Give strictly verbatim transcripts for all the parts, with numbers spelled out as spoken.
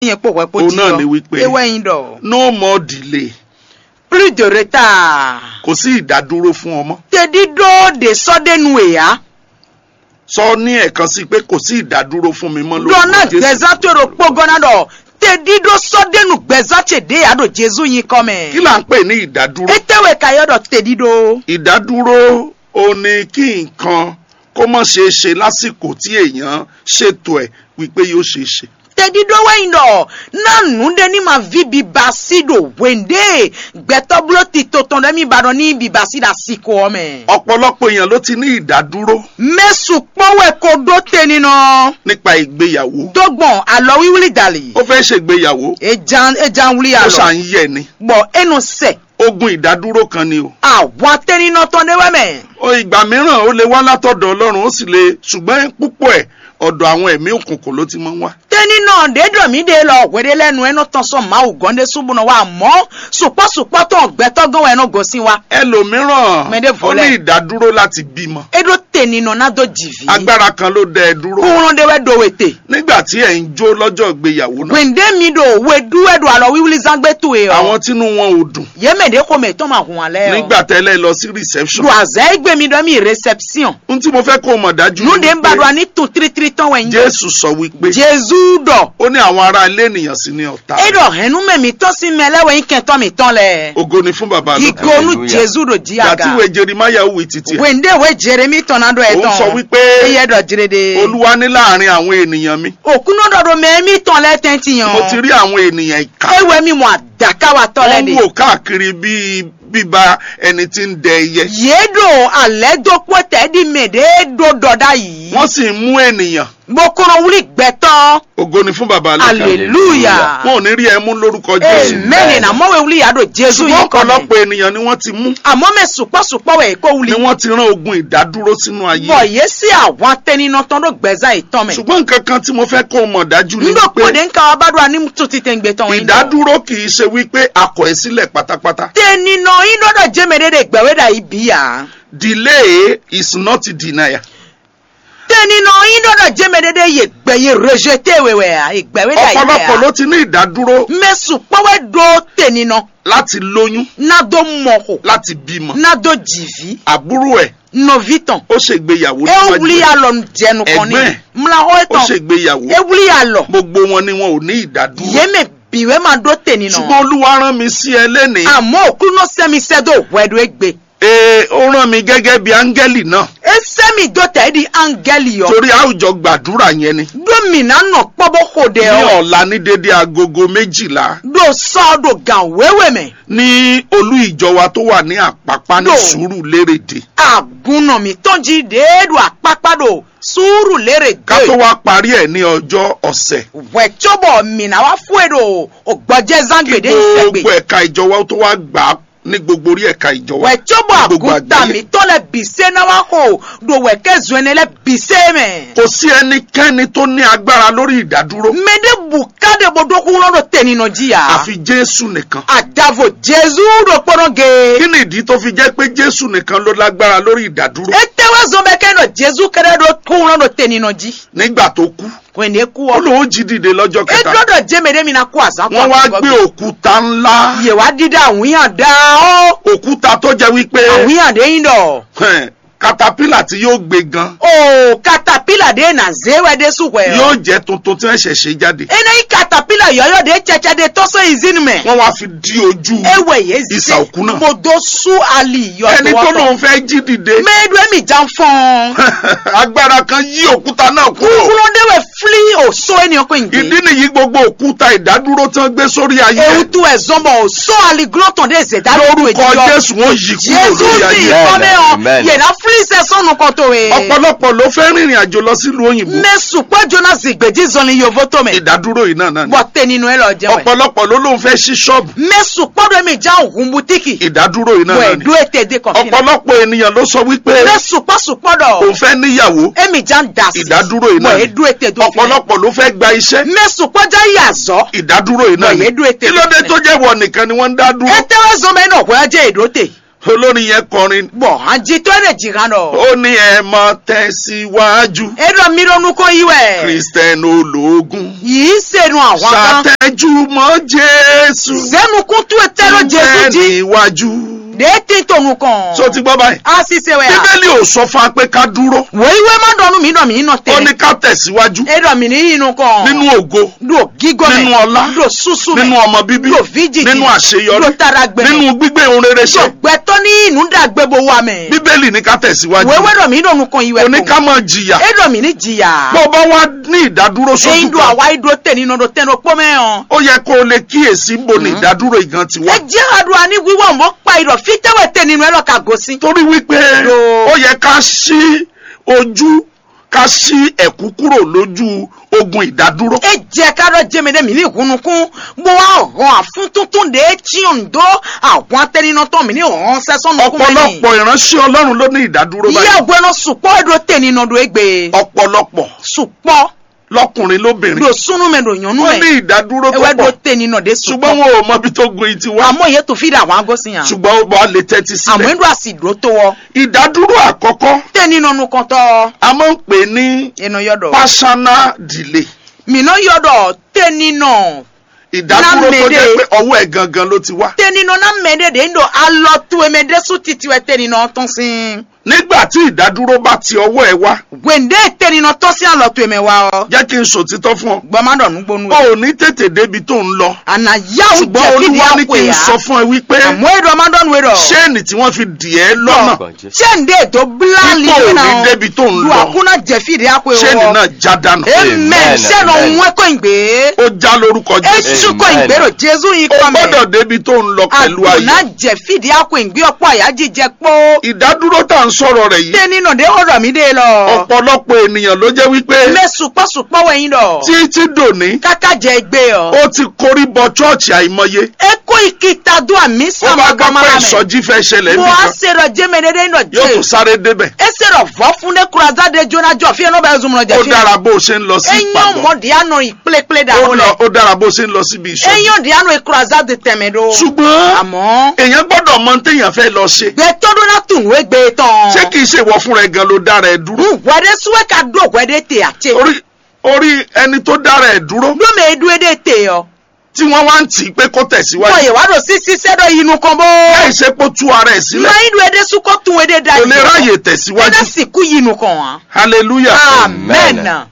Nyɛ kpó hwɛ kpó Òun jí náà ɔ́, ni wípé é wɛ nyí ɖɔ no more delay. Plus de retard. Kò sí ìdádúró fún ọ mọ́. Tedídó ɖě sɔ́ ɖé nu è ǎ. Sɔ ní ẹ̀kan sí pé kò sí ìdádúró fún mi mọ́ Ɖɔ ná lórúkọ Jésù. Gbɛzán tó ɖo kpógɔ́ ná ɖɔ tedídó sɔ́ ɖé nu gbɛzán ce ɖě ǎ ɖo Jezu nyíkɔ mɛ. Kí là ń pè ní ìdádúró? Étɛ́wé ka yɔ ɖɔ tedídó? Ìdádúró ò ní kí nǹkan kó má ṣeé ṣe lásìkò tí èèyàn ṣètò ẹ̀ wípé yóò ṣeé ṣe. Tedídó wɛ nyí ɖɔ ná nǔɖé ní ma ví biba sí ɖo hwěɖée gbɛtɔ́ bló tito tɔn ɖɛ́ mì ba ɖɔ ní biba sí ɖo asiko ɔ́ mɛ. Ọ̀pọ̀lọpọ̀ èèyàn ló ti ní ìdádúró Mɛ sukpɔ́ wɛ ko ɖó te ninɔ nípa ìgbéyàwó. Dó gbɔn alɔwíwlí dali. Ó fẹ́ ṣègbéyàwó, Ejan ejan wlí ó alɔ. Ṣà ń yẹ̀ ni. Bɔ e nɔ sɛ. Ogun ìdádúró kan ni o. Àwa tẹninɔ tɔn ɖé wɛ mɛ. O ìgbà mìíràn ó lè wá látọ̀dọ̀ Ọlọ́run, ó sì lè, ṣùgbọ́n púpọ̀ ẹ̀ ọ̀dọ̀ àwọn ẹ̀mí òkùnkùn ló ti máa ń wá. Tẹninɔ ɖé ɖɔ mí ɖe lɔ hweɖé lɛ́ɛ nu e nɔ tɔn sɔ́ Mawu gɔ́n ɖésú bó nɔ wá mɔ̌ sukpɔ́ sukpɔ́ tɔn gbɛtɔ́ gɔ́n wɛ e nɔ gosín wá. Ẹlòmíràn Mɛ ɖěvo ó ní lɛ́ɛ. Ìdádúró láti bímọ. É ɖó tɛninɔ ná dó jǐví. Agbára kan ló dá ẹ dúró. Kúnlɔ́n ɖé wɛ ɖo we te. Nígbà tí ẹ̀ ń jó lọ́jọ́ ìgbéyàwó náà, Gbèǹdé mi ɖo we ɖú wɛ ɖo alɔ wíwlí zán gbé towe ɔ. Àwọn tínú wọn ò dùn. Yě mɛ ɖě xomɛ tɔn ma hun alɛ ɔ. Nígbà tẹ́ lẹ́ lọ sí reception. Ɖo azɛ e gbe mi ɖɔ mi réception. Ohun tí mo fẹ́ kó o mọ̀ dájú Nú ni ɖe ń ba wípé ɖo ani tun tlítlí tɔn wɛ nyi. Jésù sọ wípé Jezu ɖɔ. Ó ní àwọn ará ilé ènìyàn sí ní ọ̀tá. E ɖɔ hɛnnu mɛ mǐtɔn sín mɛ lɛ́ wɛ nyí kɛntɔ́ mǐtɔn lɛ. Ògo ni fún bàbá lókè. Ìgò nú Jezu ɖo jí Ìgbà tí aga. Ìwé Jeremáyà wí títí ẹ̀. Wende we Jeremi tɔn ná ɖɔ ẹ Òun sọ tɔn. Wípé Eyɛ ɖɔ jrede. Olúwa ní láàrin àwọn ènìyàn mi. Òkúnɔ ɖɔ ɖo mɛ mítɔn lɛ tɛntin Mo ti ɔ. Rí àwọn ènìyàn ìkà. Ewɛ mi mɔ adakawatɔ lɛ Wọ́n ń de. Wò káàkiri bíi bíbá ẹni tí ń dẹ ẹyẹ. Yě ɖo alɛ̌ dó kpɔ́ tɛ̌ ɖi mɛ ɖě ɖó ɖɔ ɖ'ayǐ. Wọ́n sì ń mú ènìyàn. Bó kɔnɔ wlí gbɛtɔ́. Ògo ni fún bàbá lókè. Aleluya. Wọn ò ní rí ẹ mú lórúkọ Jésù. Amen. Àmọ́ wɛ wlí yàrá Jésù Ṣùgbọ́n yìí kọ́ ọ̀pọ̀lọpọ̀ ènìyàn ni wọ́n ti mú. Àmọ́ mẹ́ sùpọ́sùpọ́ wẹ̀ kó wlí. Ni wọ́n ti rán ogun ìdádúró sínú ayé. Bọ̀ yé sí àwọn atẹninɔtɔn ɖó gbɛzán yìí tán mɛ. Ṣùgbọ́n nǹkan kan tí mo fẹ́ kó o mọ̀ dájú ni Nígbà pé kó de ń ka wá bá dúrà ní tún ti tẹ̀ ń gbé tán wọn yìí. Ìdádúró kì í ṣe wípé a kọ̀ ẹ́ sílẹ̀ pátápátá. Tẹninɔ yín ɖɔɖɔ jẹ́mɛ ɖé ɖe gbɛ̀wé ɖa yìí bí yà. Delay is not denial. Tɛninɔ yín ɖɔɖɔ jɛmɛ ɖeɖe ye gbɛ ye rejeté we wɛ a ye gbɛ we ɖa yi wɛ Ọ̀pọ̀lọpọ̀ a. Ló ti ní ìdádúró Mɛ sukpɔ wɛ ɖo tɛninɔ. Láti lóyún, Ná dó mɔ xo. Láti bímọ. Ná dó jìví. Àbúrò ẹ̀ Nɔvi tɔn. Ó ṣègbéyàwó E níwájú wuli ẹ̀. Alɔ jɛnu kɔni. Ẹ̀gbọ́n ẹ̀ Mla xɔ Ó etɔn. Ṣègbéyàwó. E wuli alɔ. Gbogbo wọn ni wọn ò ní ìdádúró. Yé mɛ bi wɛ ma ɖo tɛninɔ. Ṣùgbọ́n Olúwa rán mi sí ẹ lénìí. Àmọ́ òkúnú sẹ́mi sẹ́dó hwɛ ɖo egbe. Ee, ó rán mi gẹ́gẹ́ bí áńgẹ́lì náà. E sɛ mi dó tɛ di angɛli yɔ. Torí a ó jọ gbàdúrà yẹn ni. Ɖó mi ná nɔ kpɔ bó xo ɖe Ní ɔ. Ọ̀la ní dédé agogo méjìlá. Ɖo sɔ ɖo gan wéwe mɛ. Ní olú ìjọ wa tó wà ní Àpápá ní Ɖo. Sùúrùlérè dé. Agunnɔ mi tɔn ji ɖe ɖo akpakpa ɖo Sùúrùlérè Ká tó dé. Wá parí ẹ̀ ní ọjọ́ ọ̀sẹ̀. Hwɛ cóbɔ mi ná wá fún e ɖo ògbɔjɛ zán Kí gbèdé ìsẹgbè. Gbogbo ẹ̀ka ìjọ wa tó wá gbà á ní gbogbo orí ẹ̀ka ìjọ wa. Wɛ tso bɔ Ní gbogbo àgùntàn àgbáyé. Mi tɔ lɛ bì sé ná wá xo ɖo wɛ kɛ zɔn ɛnɛ lɛ bì sé mɛ. Kò sí ẹnikẹ́ni tó ní agbára lórí ìdádúró. Mɛ ɖe bu ká ɖe bo ɖó kúnlɔ ɖo tɛninɔ jí ya. Àfi Jésù nìkan. Adavo Jesu ɖo kpɔnɔ ge. Kí ni ìdí tó fi jẹ́ pé Jésù nìkan ló lágbára lórí ìdádúró? Ete wɛ zɔn bɛ kɛ nɔ Jesu kɛɖɛ ɖo kúnlɔ ɖo tɛninɔ jí. Nígbà tó kú, Wɛ ne kú ó ɔ. Lòun jí dìde lọ́jọ́ E kẹta. Ɖɔ ɖɔ jɛmɛ ɖe mi na kú azan Wọ́n wá gbé òkúta ńlá. Yè wá dídá àwíyàn dá ó. Òkúta tó jẹ́ wípé Àwíyàn dé yín dɔ. Hẹn, katapila tí yóò gbé gan. O katapila de na zé wɛ de su hwɛ o. Yóò jẹ́ tuntun tí wọ́n ṣẹ̀ ṣe jáde. Ena yi katapila yɔyɔ de tsɛtsɛ de tɔsɔ izini mɛ. Wọ́n wá fi di ojú Ewɛ ye ìsà òkú náà. Mo do su ali yɔ Ẹni tó lòun fẹ́ jí dìde. Mɛ do emi jan fɔn. Agbára kan yí òkúta náà kúrò. Kúrò de wɛ fili o so eni ɔkọ yin. Ìdí nìyí gbogbo òkúta ìdádúró tí wọ́n gbé sórí ayé. Ewu tu ɛ zɔn bɔ o so ali glɔtɔn de zeda. Lórúkọ Jésù wọ́n yí kúrò Jésù lórí ti ayé. Ìfọ́mẹ́ ọ Amen. Yẹ̀dá fúlíṣẹ́ sọ́nù kan tó e. Ọ̀pọ̀lọpọ̀ ló fẹ́ rìnrìn àjò lọ sílùú òyìnbó. Mɛ sukpɔ Jonas gbèjì zɔnni yovo tó mɛ. Ìdádúró yìí náà náà ni. Bɔ tẹninu ẹ lọ jẹ wẹ. Ọ̀pọ̀lọpọ̀ ló lóun fẹ́ ṣí ṣọ́ọ̀bù. Mɛ sukpɔ dɔ mi jan hun butiki. Ìdádúró yìí náà Wẹ náà ni. Do ete de kɔfina. Ọ̀pọ̀lọpọ̀ ènìyàn ló sọ wípé Mɛ sukpɔ sukpɔ dɔ. Òun fẹ́ níyàwó. Emi jan dasi. Ìdádúró yìí náà Wẹ ni. Do ete do fina. Ọ̀pọ̀lọpọ̀ ló fẹ́ gba iṣẹ́. Mɛ sukpɔ jan yi azɔ. Ìdádúró yìí náà Wẹ náà ye ni. Do ete Kí do ló dé fina. Tó jẹ́ wọ nìkan ni wọ́n ń dá dúró? Ete wɛ zɔn mɛ nɔ hwɛ jɛ edo te. Olórin yẹn kọrin. Bɔ hanjitɔ́ ɖe jǐ hán ɖɔ. Ó ní ẹ máa tẹ̀síwájú. É ɖɔ mi ɖo nukɔn yi wɛ. Kristẹni ológun. Yìí se nu ahwan kan. Ṣàtẹ̀júmọ́ Jésù. Zé nukún tú etɛ́ ɖo Jezu jí. Níwájú. Ɖě tí to nukɔn. So ti gbọ́ báyìí. A sì se wɛ a. Bíbélì ò sọ fún wa pé ká dúró. Wòyí wé má ɖɔ nú mi ɖɔ mi nɔ te. Ó ní ká tẹ̀síwájú. É ɖɔ mi ní yi nukɔn. Nínú ògo. Ɖo gígɔ́ mɛ. Nínú ọlá. Ɖo súsú mɛ. Nínú ọmọ bíbí. Ɖo fíjìjì. Nínú àṣeyọrí. Ɖo taragbɛ. Nínú gbígbé ohun rere ṣe. Ɖo gbɛtɔ́ ní nǔ ɖagbe bó wa mɛ. Bíbélì ní ká tẹ̀síwájú. Wéwé ɖɔ mí ɖo nukɔn yi wɛ. Ó ní ká máa jìyà. É ɖɔ mí ní jìyà. Bó o bá wá ní ìdádúró sójú kan. Èyí ɖo àwa yi ɖo tè nínú ɖo tɛn ɖo kpó mɛ ɔ́. Ó yẹ kó o lè kíyèsí bó ní ìdádúró ìgan ti wá. Ẹ jẹ́ àdúrà ní wíwọ́ mọ́ pa ìrọ̀ fítẹ́wẹ̀ tè nínú ẹ lọ ka gosín. Torí wípé ó yẹ ká ṣí ojú ká ṣí ẹ̀kú kúrò lójú ogun ìdádúró. É jɛ ká ɖɔ jɛmɛ ɖé mǐ ní hun nukún, bó wá hɔn afúntúntún ɖě cyɔn dó ahwan tɛnínɔ tɔn mǐ ní hɔn sɛ́ sɔ́ nukún mɛ n'i. Ọ̀pọ̀lọpọ̀ ìránṣẹ́ Ọlọ́run ló ní ìdádúró báyìí. Yɛ hwɛnɔ sukpɔ ɖo tɛnínɔ ɖo égbé. Ọ̀pọ̀lọpọ̀. Sukpɔ. Lọkùnrin lóbìnrin. Ɖo súnú mɛ ɖo nyɔ̌nu mɛ. Wọ́n ní ìdádúró tó pọ̀. Ewé ɖo tɛnínɔ ɖé sukpɔ. Ṣùgbọ́n wọn ò mọ ibi tó gun yìí ti wá. Àmọ́ yẹn tó fi ɖà wá gosín yàn. Ṣùgbọ́n ó bá lè tẹ́tí sílẹ̀. Àmọ́ ń ɖo àsì ɖó tó wọ. Ìdádúró àkọ́kọ́. Tẹnínɔnú kɔntɔ. A máa ń pè ní. Ènìyàn yọ̀dọ̀. Personal delay. Mìíràn yọ̀dọ̀ tẹnínɔ. Ìdádúró tó jẹ́ pé ọwọ́ ẹ̀ gangan ló ti wá. Tẹnínɔ náà mẹ́ẹ̀ẹ́dẹ́ dé ń ɖo alɔ tó ẹ̀mẹ́ dé sún titi wɛ tẹnínɔ tɔn sín. Nígbà tí ìdádúró bá ti ọwọ́ ẹ wá. Wèndé tẹnínɔ tɔn sín alɔ tó ẹ̀mẹ́ wa ɔ. Jẹ́ kí n sòtítọ́ fún ọ. Gbọ́n má dọ̀ nú gbónú. O ò ní tètè débi tó ń lọ. Àná yáwó jẹ́ fìdí àpò yá. Ṣùgbọ́n Olúwa ní kí n sọ fún ẹ wípé. Àmọ́ èdè ọmọ dọ́nu èdò. Ṣéènì tí wọ́n fi dì ẹ́ lọ́nà. Ṣé ń dé ètò bíláàlì yìí náà? Ipò ò ní débi tó ń lọ. Lu àkúnná jẹ fìdí àpò ìwọ. Ṣéènì náà já dànù. Amen. Ṣé lọ ń wẹ́ kó ń gbé? Ó já lórúkọ Jésù. Etsú kó ń gbèrò Jésù yìí kọ́ mẹ́. O gbọ́dọ̀ débi tó ń lọ pẹ̀lú ayọ̀. Àkúnná jẹ fìdí àpò ìgbé ọ̀pọ̀ àyájí jẹ pó. Ìdádúró tá à ń sọ̀rọ̀ rẹ̀ yìí. Tẹ́ni nà dé ọ̀rọ̀ mi dé lọ. Ọ̀pọ̀lọpọ̀ ènìyàn ló jẹ́ wípé. Mẹ sùpọ̀ sùpọ̀ wẹ̀ yín dọ̀. Títí dòní. Káká jẹ gbé ọ. Ó ti korí bọ chọ́ọ̀chì àìmọye. E kó ìkìtà dó àmì sàmà gbàmà rẹ̀. Ó bá gbọ́ pé ìsọjí fẹ́ ṣẹlẹ̀ níbì kan. Mo á ṣe rọ jẹ́mẹ̀dẹ́dẹ́ nínú jẹ́. Yóò tún sáré débẹ̀. E ṣe rọ vọ́ fún dé kuraza de jóná jọ fí ẹ náà bá zun mọ̀ jẹ fí. Ó dára bó o ṣe ń lọ sí ìpàgọ́. Eyín ọmọdé àná ìpléplé dà ó lọ. Ó dára bó o ṣe ń lọ síbi ìṣó. Eyín ọdẹ àná ìkuraza de tẹ̀mẹ̀ do. Ṣùgbọ́n. Àmọ́. Èèyàn gbọ́dọ̀ mọ téèyàn fẹ́ lọ ṣe. Gbẹtọ́ dó ná tún nù égbé tán. Ṣé kìí ṣe ìwọ fúnra ẹ gan ló dára ẹ dúró? Wẹ̀dẹ́ súwẹ́ ka dó wẹ̀dẹ́ tè àtẹ. Orí orí ẹni tó dára ẹ̀ dúró. Lómi edu ede te ọ. Tí wọ́n wá ń tì í pé kó tẹ̀síwájú. Bọ̀yẹ̀ wá lọ sí sísẹ́ dọ̀ yinu kan bó. Láì ṣe pé ó tú ara ẹ̀ sílẹ̀. Máa ń lu ede sún kó tún ede da yìí. Kò lè ráyè tẹ̀síwájú. Ede sì kú yinu kan wá. Hallelujah. Amen.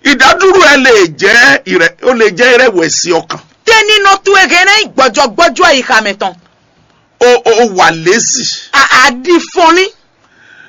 Ìdádúró ẹ lè jẹ́ ìrẹ ó lè jẹ́ ìrẹ̀wẹ̀sì ọkàn. Tẹ́ni nọ tu ege náà gbọ́jọ́gbọ́jọ́ yìí ka mẹ́tàn. O o wà lésì. Àdìfọ́nì.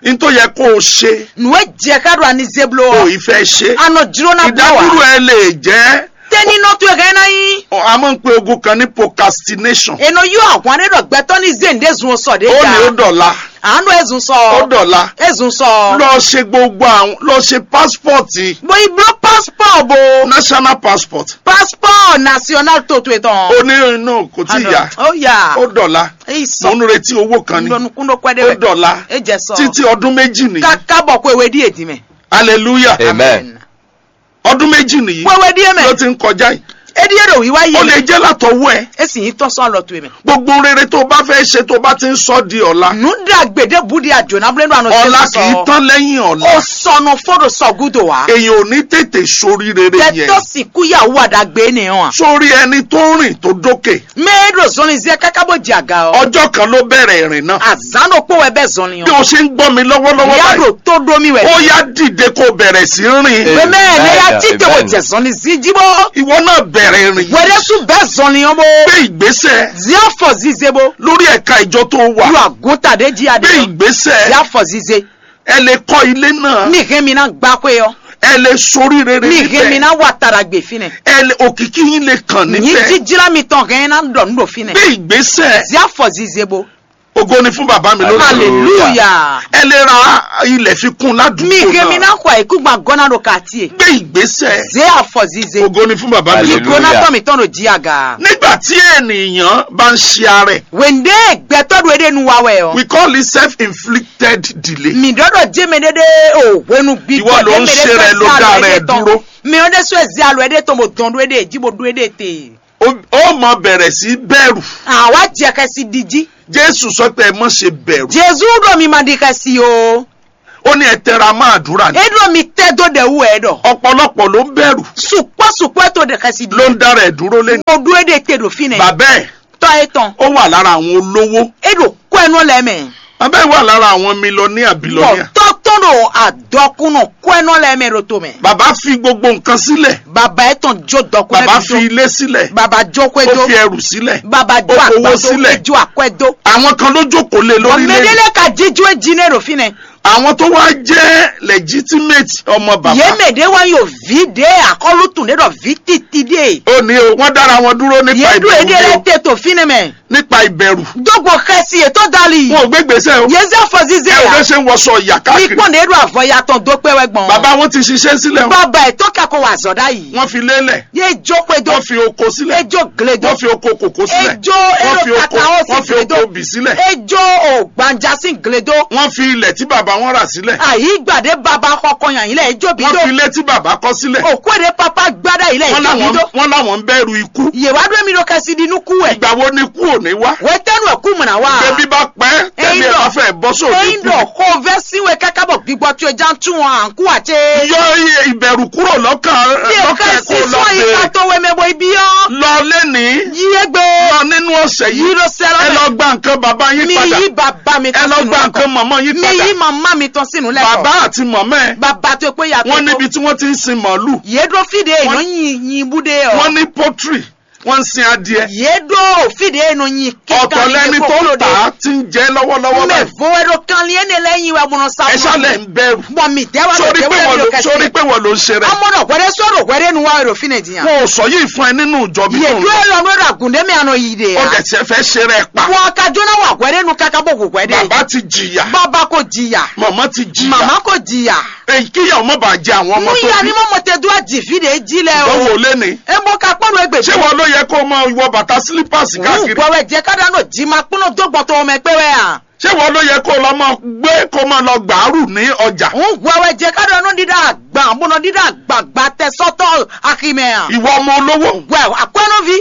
N tó yẹ kó o ṣe. Nùwé jẹ ká do ani zeblo. O ì fẹ́ ṣe. Anɔ jiro na blo wa. Ìdádúró ẹ lè jẹ́. Tẹ́ni nɔ tó ẹ kẹ́ náà yín. A máa ń pe ogun kan ní procrastination. Ènà yóò àwọn ẹni dọ̀ gbẹ́tọ́ ní zéǹde zun sọ̀ dé jà. Ó ní ó dọ̀la. Àánú ẹ̀zùn sọ. Ó dọ̀la. Ẹ̀zùn sọ. Lọ ṣe gbogbo àwọn lọ ṣe passport. Bo ibló passport bo. National passport. Passport national tó tó etɔn. Ó ní inú kò tí ì yá. Ó yá. Ó dọ̀la. Èyí sọ. Mo ń retí owó kan ni. Ńlọnukúndó kwẹ́dẹ́ Ó rẹ̀. Dọ̀la. Ẹ jẹ́ sọ. Títí ọdún méjì nìyí. Ká kábọ̀ kó ewé díẹ̀ dì mẹ́. Hallelujah. Amen. Ọdún méjì nìyí. Kó ewé díẹ̀ mẹ́. Ló ti ń kọjá yìí. Edí èrò wíwá yìí. Ó lè jẹ́ látọwọ́ ẹ. E sì yín tọ́ sọ lọ tó yìí mẹ́. Gbogbo rere tó o bá fẹ́ ṣe tó o bá ti ń sọ di ọ̀la. Nù dá gbèdé búdi àjò náà búlẹ́nu àná Ọ̀la kì í tán lẹ́yìn ọ̀la. O sọnù fódò sọ̀gúdò wá. Èyàn ò ní tètè sórí rere yẹn. Tẹ́tọ́ sì kúyàwó àdàgbé nìyẹn wa. Sórí ẹni tó rìn tó dókè. Mẹ́ẹ̀ẹ́dọ̀ zɔnlin zẹ́ káká bó jẹ àga ọ. Ọjọ́ kan ló bẹ̀rẹ̀ ìrìn náà. Àzánò pé wẹ́ bẹ́ẹ̀ zɔnlin Bí ọ. O ṣe ń gbọ́ mi lọ́wọ́lọ́wọ́ Ìyá báyìí, rò tó domi wẹ̀. Ó yá dìde kó o bẹ̀rẹ̀ sí í rìn. Bẹ́ẹ̀ ni ya Amen. Títí wò Amen. Jẹ zɔnlin sí jíbó. Ìwọ náà bẹ̀rẹ̀ ìrìn. Wẹ̀rẹ̀ sún bẹ́ẹ̀ zɔnlin ọmọ. Gbé ìgbésẹ̀ Zia fɔ zize bo. Lórí ẹ̀ka ìjọ tó wà. Lu àgùntà dé jí adé. Gbé ìgbésẹ̀. Zia fɔ zize. Ẹ lè kọ́ ilé náà. Mi hɛn mi ná gbá kó yọ. Ẹ lè sorí rere Mi hɛn mi níbẹ̀. Ná wà tara gbè fi nɛ. Ẹ lè òkìkí yín lè kàn Nyi níbẹ̀. Jíjírá mi tɔn hɛn ná dɔ nú dò fi nɛ. Gbé ìgbésẹ̀. Zia fɔ zize bo. Ògo ni fún bàbá mi lónìí. Hallelujah. Ẹ lè ra ilẹ̀ fi kún ládùúgbò Mi hɛn mi náà. Ná kɔ ikú gba gɔna do quartier. Gbé ìgbésẹ̀. Zia fɔ zize. Ògo ni fún bàbá mi. Hallelujah. Ìgbóná tọ́ mi tɔn do jí aga. Nígbà tí ènìyàn bá ń ṣe ara ẹ̀. Wende gbɛtɔ do ede nu wa wɛ o. We call it self-inflicted delay. Mi dɔdɔ jeme dede o wenu gbi Ìwọ ló ń ṣe rẹ ló dá rẹ dúró. Mi o de so ezi alo ede to mo dɔn do ede ji bo do ede te. Ó ó mọ bẹ̀rẹ̀ sí bẹ̀rù. Àwa jẹ xɛsi ɖi jí. Jésù sọ pé ẹ má ṣe bẹ̀rù. Jésù ɖo mi ma ɖi xɛsi o. Ó ní ẹ tẹra mọ́ àdúrà ni. É ɖo mi tɛ dó ɖɛ wú ɛ ɖɔ. Ọ̀pọ̀lọpọ̀ ló ń bẹ̀rù. Sukpɔ sukpɔ ɛ to ɖe xɛsi ɖi. Ló ń dára ẹ̀ dúró lé. Mo ɖó é ɖe te ɖo fínɛ. Bàbá ẹ̀. Tɔ ɛ tɔn. Ó wà lára àwọn olówó. É ɖo kɔ ɛ nɔ lɛ mɛ. Bàbá ẹ̀ wà lára àwọn mílíọ̀nìyà bílíọ̀nìyà. Bɔ tɔ tɔn ɖo adɔkunɔ kɔ ɛ nɔ lɛ mɛ ɖo to mɛ. Bàbá fi gbogbo nǹkan sílẹ̀. Bàbá ɛ tɔn jó dɔkun. Bàbá fi ilé sílẹ̀. Bàbá jó kɔ ɛ dó. Ó fi ẹrù sílẹ̀. Bàbá jó akɔ ẹ dó. Ó fowó sílẹ̀. É jó akɔ ɛ dó. Àwọn kan ló jókòó lé lórí lé. Mɛdélé ka jíjú é jí ní ɖo fínɛ. Àwọn tó wá jẹ́ legitimate ọmọ bàbá. Yě mɛ ɖě wá yǒ ví ɖě akɔ́lùtún ɖě ɖɔ ví titi ɖě. Ó ní o, wọ́n dára wọn dúró nípa ìbẹ̀rù. Yě ɖo é ɖě lɛ́ te to fínɛ mɛ. Nípa ìbẹ̀rù. Dógbò xɛsi è tó dali. Wọn ò gbé gbèsè o. Yě zé afɔzizɛ ya. Ẹ ò lè ṣe ń wọṣọ ìyà káàkiri. Mi kpɔn ɖě ɖo avɔ ya tɔn dó kpɛ wɛ gbɔn. Bàbá wọn ti ṣiṣẹ́ sílẹ̀ o. Bàbá ẹ̀ tó kẹ́kọ̀ọ́ wà zọ̀ dá yìí. Wọ́n fi lélẹ̀. Yé jó xwedó. Wọ́n fi oko sílẹ̀. Ejó gledo. Wọ́n fi oko kòkó sílẹ̀. Ejó wọ́n fi oko ero kaka ó sì wọ́n fi gledo. Oko bì sílẹ̀. Ejó o gbanja sí gledo. Wọ́n fi ilẹ̀ tí bàbá wọn rà sílẹ̀. Àyígbàdé bàbá kọkọ yàn yín lẹ̀ ejó bí wọ́n dó. Fi ilé tí bàbá kọ́ sílẹ̀. Òkú èdè pápá gbádá yìí lẹ̀ wọ́n ejó bí láwọn dó. Wọ́n láwọn ń bẹ̀rù ikú. Yèwá dó mi ló kẹsí di nú kú ẹ̀. Ìgbà wo ni kú ò ní wá? Wẹ́tẹ́nu ẹ̀kú mọ̀nà wá. Bébí bá pẹ́ tẹ́lẹ̀ ẹ̀ bá fẹ́ bọ́ sóde kú. Eyín dọ̀ kó vẹ́ síwèé kákábọ̀ gbígbọ́ tó ẹ já ń tún wọn à ń kú àti. Yọ iye ìbẹ̀rù kúrò lọ́kàn lọ́kàn kó lọ bèrè. Yóò ká sí sọ ìka tó wẹ́ mẹ́bọ̀ ibi ọ́. Lọ lẹ́nìí. Yí é gbé. Lọ nínú ọ̀sẹ̀ yìí. Yí ló sẹ́ lọ́nà. Ẹ lọ gba nǹkan bàbá yín padà. Mi yí bàbá mi tán sínú lẹ́kọ̀ọ́. Ẹ lọ gba nǹkan màmá yín padà. Mi yí màmá mi tán sínú lẹ́kọ̀ọ́. Bàbá àti màmá ẹ̀. Bàbá tó pé yàtọ̀. Wọ́n níbi tí wọ́n ti ń sin màálù. Yé dó fìdí èèyàn yín yín búdé ọ. Wọ́n ní poultry. Wọ́n ń sin adìẹ. Yé dó fìdí èèyàn yín kíkà. Ọ̀tọ̀ lẹ́ni tó ń tà á ti ń jẹ lọ́wọ́lọ́wọ́ báyìí. Mɛ vo wɛ ɖo kanlin énɛ́ lɛ́ɛ nyi wɛ bɔnɔ sa. Ɛ ṣá lɛ ń bẹ̀rù. Bɔn mi dɛ wa sórí pé wọ́n ló sórí pé wọ́n ló ń ṣe rẹ. Amɔ nɔ hwɛɖɛ sɔrɔ hwɛɖɛ nu wa ɖo fínɛ diyan. Wọn ò sọ yìí fún ẹ nínú ìjọ mi tó ń lọ. Yèdú ẹ lọ nú ẹ̀rọ àgùndé mi àná yìí de ya. Ó dẹ̀ ṣe fẹ́ ṣe rẹ pa. Wọn ka jóná wà hwɛɖɛ nu kaka bó hù hwɛɖɛ. Bàbá ti jìyà. Bàbá kò jìyà. Màmá ti jìyà. Màmá kò jìyà. Èyí kíyà ọmọ bàá jẹ àwọn ọmọ tó bí. Nú ìyá ni mo mọ̀ tẹ́ dúró jì fídíò jí lẹ o. Báwo lé ni? E mo ka kpɔ́ nú egbe. Ṣé wọn ló yẹ kó o máa wọ bàtà slippers káàkiri? Wọ́n wẹ̀ jẹ́ ká dáná jí máa kpọ́n dó gbọ́n tó ọmọ ẹgbẹ́ wẹ̀ à. Ṣé wọn ló yẹ kó o lọ máa gbé kó o máa lọ gbàárù ní ọjà? Wọ́n wẹ̀ jẹ́ ká dáná dídá àgbà bọ́nà dídá àgbàgbà tẹ sọ́tọ̀ àkìmẹ̀ à. Ìwọ ọmọ olówó. Wẹ̀ àkọ́nú vi.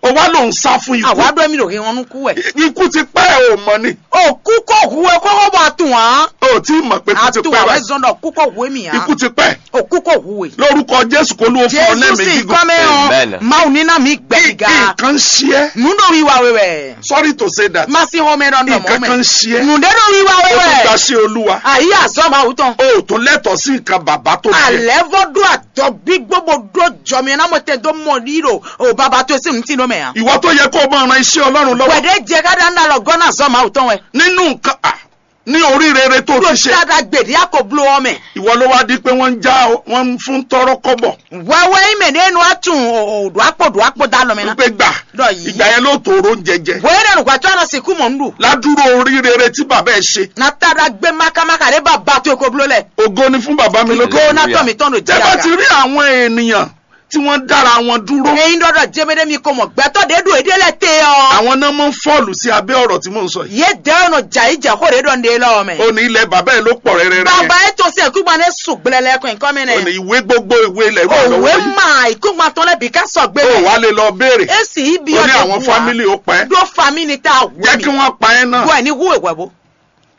O wá ló ń sá fún ikú. Àwa dó mi lò hìn wọn nú kú wẹ̀. Ikú ti pẹ́ o mọ̀ ni. Òkú kò hu ẹ kókó bọ̀ àtún wá. O tí mọ̀ pé ikú ti pẹ́ báyìí. Àtún wá zọ́n dọ̀ kú kò hu èmi á. Ikú ti pẹ́. Òkú kò hu e. Lórúkọ Jésù kó ló fún ọ lẹ́mìí gígùn. Jésù sì kọ́ mẹ́ ọ́n. Amen. Máa ní náà mi gbẹ̀gà. Nǹkan ṣe ẹ́. Nù dó wíwá wẹ́wẹ́. Sorry to say that. Má sí home run dọ̀ mọ́ mẹ́. Nǹkan kan ṣe ẹ́. Nù dé dó wíwá wẹ́wẹ́. O tún gba ṣe Olúwa. Àyè àzọ́ máa wù tán. O ò tún lẹ́tọ̀ọ́ sí nǹkan bàbá tó bí ẹ. Àlẹ́ vọ́ dó àdọ́ gbígbó bó dó jọ mi náà mo tẹ dó mọ̀ ní ìrò. O bàbá tó sí nù tí ló mẹ́ à. Ìwọ tó yẹ kó o máa ran iṣẹ́ Ọlọ́run lọ́wọ́. Wẹ̀dẹ́ jẹ ká dá ń dá lọ gọ́nà zọ́ máa wù tán wẹ. Nínú nǹkan, ah, ní orí rere tó ti ṣe. Ló ṣáda gbèdé àkóbló ọmọ ẹ̀. Ìwọ ló wá di pé wọ́n ń já, wọ́n ń fún tọ́rọ́ kọ́bọ̀. Wẹ́wẹ́ yín mẹ̀ nínú àtún òdò àpò dò àpò dá lọ mí ná. Wípé gbà. Dọ̀ yìí. Ìgbà yẹn ló tó oró ń jẹjẹ. Bóyá dẹ̀ nùgbà tí a lọ sìnkú mọ̀ ń lù. Ládùúrò orí rere tí bàbá ẹ̀ ṣe. Nàtàdá gbé mákámáká rẹ̀ bá ba tó ekó bló lẹ̀. Ògo ni fún bàbá mi lókè. Ògo náà tọ̀ mí tọ́nu Tẹ́ bá ti rí àwọn ènìyàn tí wọ́n dára wọn dúró. Eyín dọ́dọ̀ jẹ́mẹ́dẹ́ mi kò mọ̀ gbẹ́tọ̀ dé dùn èdè lẹ̀ tẹ́ ọ. Àwọn náà mọ̀ ń fọ́ọ̀lù sí abẹ́ ọ̀rọ̀ tí mò ń sọ yìí. Yé dẹ́ ọ̀nà jà yí jà kó rè dọ̀ ndé lọ́wọ́ mẹ́. Ó ní ilẹ̀ bàbá ẹ̀ ló pọ̀ rẹ́rẹ́rẹ́. Bàbá yẹn tó sí ẹ̀kú gbaná sùn gbẹlẹ́lẹ́ kọ́ nǹkan mẹ́nẹ́. Ó ní ìwé gbogbo ìwé ilẹ̀ wà lọ́wọ́ yìí. Òwe mà ìkúgbà tán lẹ́bi ká sọ gbé. Ó wà lè lọ béèrè. Èsì ibi ọ̀dẹ̀ wà. Ó ní àwọn fámìlì ó pẹ́. Dó fámìlì tá a wù mí. Jẹ́ kí wọ́n pa ẹ́ náà. Bọ́ ẹ̀ ní wúwo ìwà wo.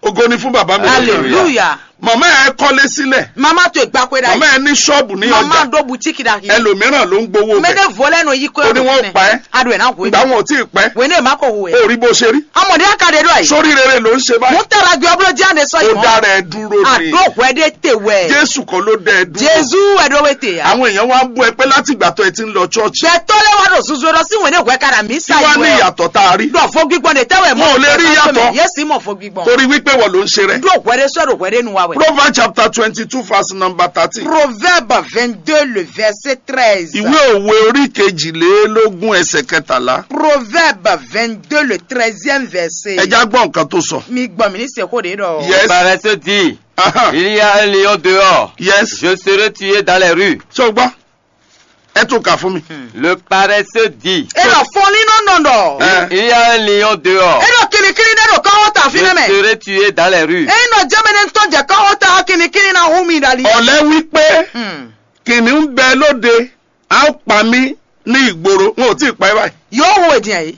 Ògo ni fún bàbá mi. Hallelujah. Màmá ẹ kọ́lé sílẹ̀. Mama to ìgbàkwé dà yìí. Màmá ẹ ní ṣọ́ọ̀bù ní ọjà. Mama do boutique dà yìí. Ẹlòmíràn ló ń gbowó bẹ̀. Mede volɛ no yi ko. Ó ní wọ́n pa ẹ́. Ado ẹ̀ náà wò. Ìgbà wọn ò tí ì pẹ́. Wò ní èma kò wò ẹ̀. Ó rí bó ṣe rí. Amọ̀dé akadé dọ̀ yìí. Sórí rere ló ń ṣe báyìí. Mo tara gbé ọbúrò jáde sọ yìí. Ó dára ẹ dúró ni. Àdó wẹ́dẹ́ tè wẹ̀. Jésù kan ló dá ẹ dúró. Jésù ẹ̀dọ́ wẹ̀ tè ya. Àwọn èèyàn wá ń bú ẹ pé láti ìgbà tó ẹ ti ń lọ church. Bẹ́ẹ̀ tó lé wá lọ zuzu lọ sí wòlé wẹ̀ kára mi sá yìí. Kí wá ní ìyàtọ̀ tá a rí? Dọ̀ fo gbígbọ́n de tẹ́wẹ̀ mọ́. Wọn ò lè rí ìyàtọ̀. Yé sì mọ̀ fo gbígbọ́n. Torí wípé wọ́n ló ń ṣe rẹ̀. Dó wẹ́rẹ́ sọ̀rọ̀ wẹ́rẹ́ nu wa wẹ̀. Proverbs chapter twenty-two verse number thirteen. Proverbe vingt-deux, le verset treize. Ìwé òwe orí kejìlélógún ẹsẹ̀ kẹtàlá. Proverbe vingt-deux, le treizième verset. Ẹ já gbọ́ nǹkan tó sọ. Mi gbọ́ mi ní sèkó de dọ̀. Yes. Paresse dit, aha, il y a un lion dehors. Yes. Je serai tué dans les rues. Ṣé o gbọ́? Ẹ tún kà fún mi. Le paresseux dit, E lɔ fɔn ní nɔ nɔ dɔ. Ɛ. Il y a un lion dehors. E lɔ kirikiri ɖe ɖo kɔwɔ ta fi nɛ mɛ. Je serai tué dans les rues. E nɔ jɛmɛ ne tɔn jɛ kɔwɔ ta kirikiri na hu mi dali. Ọ̀lẹ wí pé, Hmm. Kìnìún bẹ lóde, a ó pa mí Ní ìgboro, wọn ò tí ì pa ẹ́ báyìí. Yóò hu èdè yìí.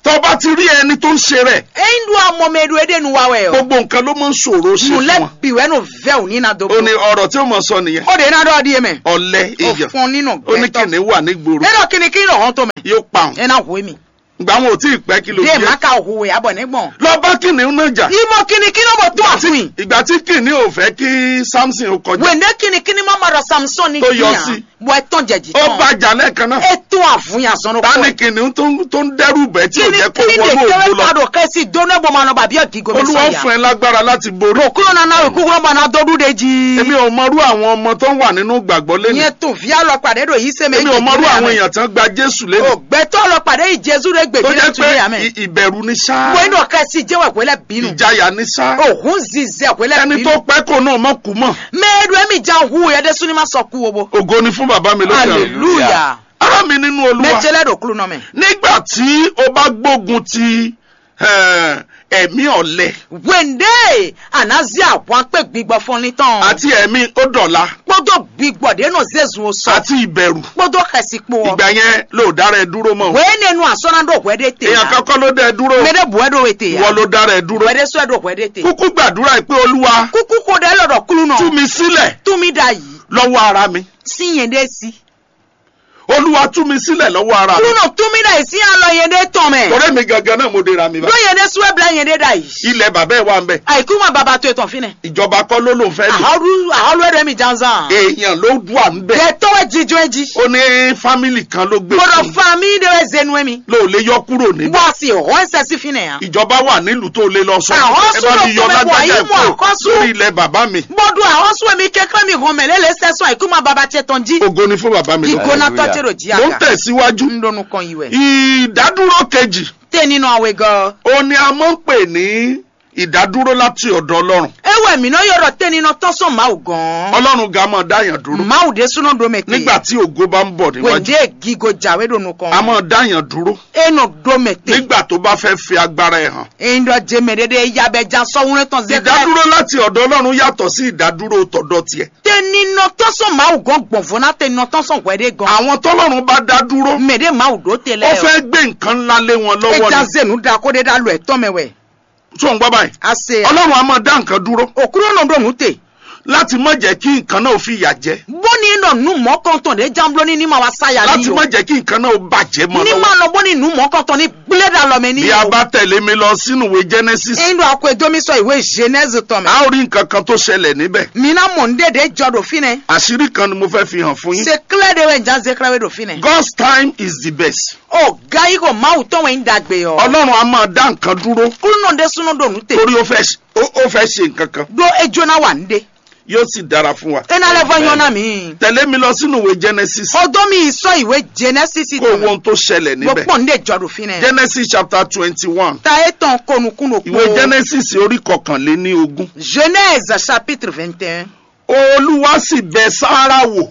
Tó bá ti rí ẹni tó ń ṣe rẹ̀, Eyin ɖo amɔ mɛ ɖo eɖe nu wa wɛ o. Gbogbo nǹkan ló máa ń ṣòro ṣe Nu fún lɛ wọn. Bi wɛ no vɛ o ni na do. Ó ní ọ̀rọ̀ tí ó mọ̀ sọ nìyẹn. O de na ɖɔ ɖi mɛ. Ọ̀lẹ èèyàn. Ofɔn nínú Ó ní gbɛtɔ. Kìnìún wà nígboro. E ɖɔ kìnìún kìnìún hɔn to mɛ. Yóò pa òun. E na hu mi. Ìgbà wọn ò tí ì pẹ́ kí ló De jẹ́. Ma ka hu ya bɔ ne gbɔn. Lọ bá kìnìún náà jà. Imɔ kìnìún kìnìún bɔ tó àfin. Ìgbà tí kìnìún ò fẹ́ kí Samson ó kọjá. Wende kìnìún kìnìún ma ma ɖɔ Samson ni Tó yọ kìnìún. Sí. Bɔ etɔn jɛ jì Ó tɔn. Bá jà lẹ́ẹ̀kan náà. Etɔn àfún ya zɔn Ta ni kɔ. Kìnìún tó ń tó ń dẹ́rù bẹ́ẹ̀ tí ò jẹ́ kó Kìnìún wọnú kìnìún ògbó lọ? Tẹ́wé padò kẹ́sì dóná bó ma nọ bàbí ọ̀gígò mi Olúwa ó sọ̀yà. Fún ẹ lágbára láti borí. Òkúrò nana òkúrò bá na dó dúdé jí. Èmi ò mọrú àwọn ọmọ tó ń wà nínú ìgbàgbọ́ lẹ́nu. Yẹn tún fi alọ pàdé ɖo yìí sẹ́mi Èmi ò mọrú àwọn èèyàn tán gba Jésù lẹ́nu. Ògbẹ́tọ́ lọ pàdé yìí Jésù rẹ̀ Tó gbèdé jẹ́ tún yà pé mẹ́. Ì- ìbẹ̀rù ní ṣá. Wẹ́n dọ̀ kẹ́sì jẹ́ wẹ̀ wẹ́lẹ́ bínú. Ìjayà ní ṣá. Òhun zizẹ́ wẹ́lẹ́ Ẹni bínú. Tó pẹ́ kó náà mọ̀ kú mọ̀. Mɛ e ɖo emi jan hu yɛ ɖe suni ma sɔ ku o bo. Ògo ni fún bàbá mi lókè ọ̀run. Hallelujah. Ará mi nínú Olúwa. Mɛ ce lɛ ɖo klunɔ mɛ. Nígbà tí o bá gbógun ti eh, ẹ̀mí ọ̀lẹ. Wende anazi ahwan kpe gbigbɔ fɔnlin tɔn. Àti ẹ̀mí ó dọ̀la. Kpódó gbigbɔ ɖe nɔ zezun o sɔ. Àti ìbẹ̀rù. Kpódó xɛsi kpo ɔ. Ìgbà yẹn ló dá rẹ dúró mọ́. Wee ne nu asɔ na ɖo hwɛ ɖe te. Èèyàn kan kọ́ ló dá ẹ dúró. Mɛ ɖe bu ɛ ɖo ete ya. Ìwọ ló dá rẹ dúró. Wɛ ɖe sɔ ɛ ɖo hwɛ ɖe te. Kúkú gbàdúrà yìí pé Olúwa. Kúkú ko ɖe lɔ ɖɔ kúlú nɔ. Tú mi sílẹ̀. Tú mi ɖa yìí. Lọ́wọ́ ara mi. Sí yẹn ɖe sí. Olúwa tú mi sílẹ̀ lọ́wọ́ ara mi. Kúnɔ tú mi ɖa yìí sí alɔ yẹn ɖe tɔn mɛ. Torí mi gangan náà mo dera mi bá. Ɖó yẹn ɖe sú ɛ bla yẹn ɖe ɖa yìí. Ilẹ̀ bàbá ẹ̀ wà ń bẹ̀. Àìkú ma bàbá tó etɔn fínɛ. Ìjọba kọ́ ló ló fẹ́ lò. Àhọ́lú àhọ́lú ẹ̀rọ mi janzan. Èèyàn ló wà ń bẹ̀. Yẹ tọ́wọ́ jíjọ́ ẹ jí. Ó ní fámìlì kan ló gbé Gbọ́dọ̀ fún un. Fa mi ɖe wɛ zenu ẹ mi. Ló lè yọ kúrò níbẹ̀. Wọ́n sì họ́ ẹsẹ̀ sí fínẹ ya. Ìjọba wà nílùú tó lè lọ sọ. Àwọn Ẹ bá mi yọ sọ̀rọ̀ lágbájá kò ẹ̀ mú kúrò àkọ́sù. Lórí ilẹ̀ bàbá mi. Bọ́dún àwọn sún èmi kékeré mi hàn mẹ́lẹ́ lè sẹ́sùn àìkú ma bàbá tiẹ̀ tán jí. Ògo ni fún bàbá mi lókè. Ìgbóná tọ́jú rò jí Mo ń àga. Tẹ̀síwájú. Ń dọnu kan yìí wẹ̀. Ìdádúró kejì. Tẹ́ nínú àwẹ̀ gan. Ó ní a máa ń pè ní ìdádúró láti ọ̀dọ̀ Ọlọ́run. Ewé mi náà yọ̀rọ̀ tẹ́ nínú tán sọ Máwù gan. Ọlọ́run ga máa dáyàn dúró. Máwù dé súná do mẹ tè. Nígbà tí ògo bá ń bọ̀ níwájú. Wèndé gígo jàwé dònú kan. A máa dáyàn dúró. E nɔ do mɛ te. Nígbà tó bá fẹ́ fi agbára ẹ̀ hàn. Eyín dɔ jẹ mɛ ɖeɖe ya bɛ ja sɔwúnɛ tɔn zɛ. Ìdádúró láti ọ̀dọ̀ Ọlọ́run yàtọ̀ sí ìdádúró tọ̀dọ̀ tiẹ̀. Tẹninɔ tɔn sɔn Mawu gɔn gbɔnvɔ ná tẹninɔ tɔn sɔn hwɛ ɖe gɔn. Àwọn tọ́lọ́run bá dá dúró. Mɛ ɖe Mawu ɖó te lɛ. Ó fẹ́ gbé nǹkan ńlá lé wọn lọ́wọ́ ni. Eja zenu da ko ɖe ɖa lɔ ɛtɔn mɛ wɛ. Tó ń gbọ́ báyìí. Ase. Ọlọ́run á máa dá nǹkan dúró. Òkúrò nɔ ɖo nù te. Láti má jẹ́ kí nǹkan náà ó fi ìyà jẹ. Bóni nɔ nu mɔkɔntɔn ɖe jambló ní ní ma wá sáyà ní. Láti má jẹ́ kí nǹkan náà ó bàjẹ́ mọ́. Ní ma nɔ bóni nu mɔkɔntɔn ní gblé ɖa lɔ mɛ ní. Bí a bá tẹ̀lé mi lọ sínú ìwé Genesis. Eyín ɖo akwɛ dó mi sɔ ìwé Genèse tɔn mɛ. A ó rí nǹkan kan tó ṣẹlẹ̀ níbẹ̀. Mi ná mɔ ní ɖe ɖe jɔ ɖo fínɛ. Àṣírí kan ni mo fẹ́ fi hàn fún yín. Se klɛ ɖe wɛ njan ze klɛ wɛ ɖo fínɛ. God's time is the best. O gayi ko Mawu tɔn wɛ ń dagbe ɔ. Ọlọ́run á máa dá nǹkan dúró. Kúlúnɔ ɖe súnú ɖo nù te. Torí ó fẹ́ ṣe- ó ó fẹ́ ṣe nǹkan kan. Ɖó ejó ná wà ní ɖe. Yóò sì dára fún wa. Ena lɛ vɔ nyɔ na mi. Tẹ̀lé mi lọ sínú ìwé Genesis. Xɔ dó mi sɔ ìwé Genesis Kó o wo tɔn. Ohun tó ṣẹlẹ̀ Mo níbẹ̀. Pọ̀ ní ìjọ ɖo fínɛ. Genesis chapter twenty-one. Ta etɔn konukun ɖo Ìwé kpó. Genesis orí kọkànléní ogún. Genèse chapitre vingt et un. Olúwa sì bẹ Sára wò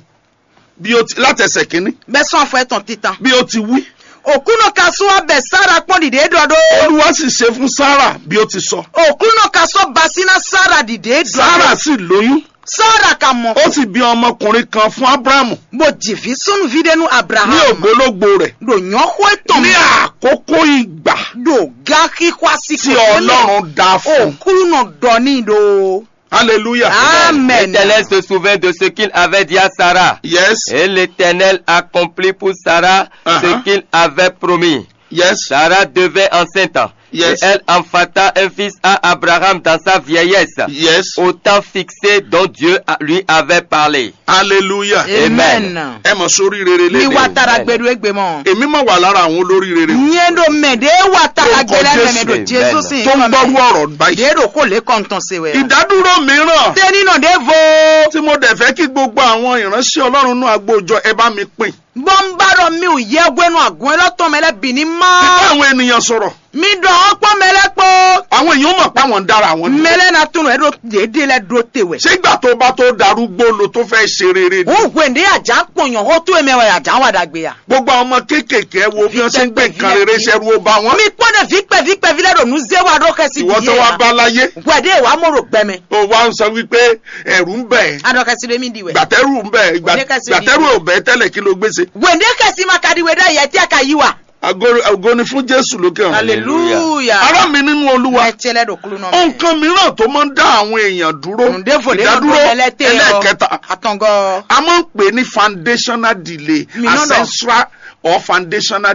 bí ó ti láti ẹsẹ̀ kínní. Bɛ sɔn afɔ etɔn titan. Bí ó ti wí. Òkúnɔ ka sún abẹ Sára kpɔn ɖiɖe ɖɔ ɖó. Olúwa sì ṣe fún Sára bí ó ti sọ. Òkúnɔ ka sọ basina Sára ɖiɖe ɖɔ. Sára sì lóyún. Sára ka mɔ. Ó sì bí ọmọkùnrin kan fún Ábúráhámù. Bó jì ví súnúví ɖé nú Ní Abraham. Ògbólógbò rẹ̀. Ɖo nyɔxó etɔn. Ní àkókò ìgbà. Ɖo gáxixwá sí Tí kòkó lɛ. Ọlọ́run dá fún. Òkúnɔ ɖɔ ní ɖo. Hallelujah. Amen. L'Éternel se souvint de ce qu'il avait dit à Sarah. Yes. Et l'Éternel accomplit pour Sarah Uh-huh. ce qu'il avait promis. Yes. Sarah devint enceinte. Yes. Et elle enfanta un fils à Abraham dans sa vieillesse. Yes. Au temps fixé dont Dieu a- lui avait parlé. Hallelujah. Amen. Ẹ mọ̀ sórí rere lé. Mi wa tara gbẹdu egbe mọ. Èmi máa wà lára àwọn olórí rere. Nyɛ ɖo mɛ ɖe wa tara gbɛ lɛ mɛ ɖo Jesu sin. Tó ń gbọ́rú ọ̀rọ̀ báyìí. Ɖe ɖo ko le kɔntɔn se wɛ. Ìdádúró mìíràn. Tẹni nɔ ɖe vo. Tí mo dẹ̀ fẹ́ kí gbogbo àwọn ìránṣẹ́ Ọlọ́run nú agbójọ ẹ bá mi pín. Bɔ n ba ɖɔ mi ò yɛ hwenu agun elɔ tɔn mɛ lɛ bì ní má. Nípa àwọn ènìyàn sọ̀rọ̀. Mi ɖɔ ɔkpɔ mɛ lɛ kpó. Àwọn èèyàn mọ̀ pé àwọn ń dára àwọn. Mɛ lɛ na tún ɛ ɖo ɖeɖe lɛ ɖo te wɛ. Ṣé ìgbà tó bá tó darúgbó lo tó fẹ́ ṣe rere ni? Wò hwende àjà kpɔnyɔ hó tó emɛ wɛ àjà wà dàgbé ya. Gbogbo àwọn ọmọ kéékèèké ẹ wo bí wọ́n ṣe ń gbé nǹkan rere ṣe ru ó bá wọn. Mi kpɔn ɖe vi kpɛ vi kpɛ vi lɛ ɖo nu zé wa ɖo xɛsi Ìwọ tó wá bá láyé. Wɛ ɖe wa mɔ ɖo gbɛmɛ. O wa ń sọ wípé ẹ̀rù ń bẹ̀. Adɔ xɛsi ɖe mi di wɛ. Gbàtẹ́rù ń bẹ̀. Gbàtẹ́rù ò bẹ̀ tẹ́lẹ̀ kí ló gbé ṣe. Wende xɛsi ma ka ɖi we ɖe yɛ tí a ka yí wa. Ago- ago ni fún Jésù lókè ọ̀run. Hallelujah. Ará mi nínú Olúwa, Mɛ tse lɛ ɖo kúlú nɔ. Nǹkan mìíràn tó máa ń dá àwọn èèyàn dúró, Ǹdéfò dé ìdádúró lọ́gbọ́n mẹ́lẹ́tẹ̀ ọ́. Ẹlẹ́ẹ̀kẹta, Àtọ̀ngọ́. A máa ń pè é ní foundational delay, Mi nɔ dɔ. Ancestral or foundational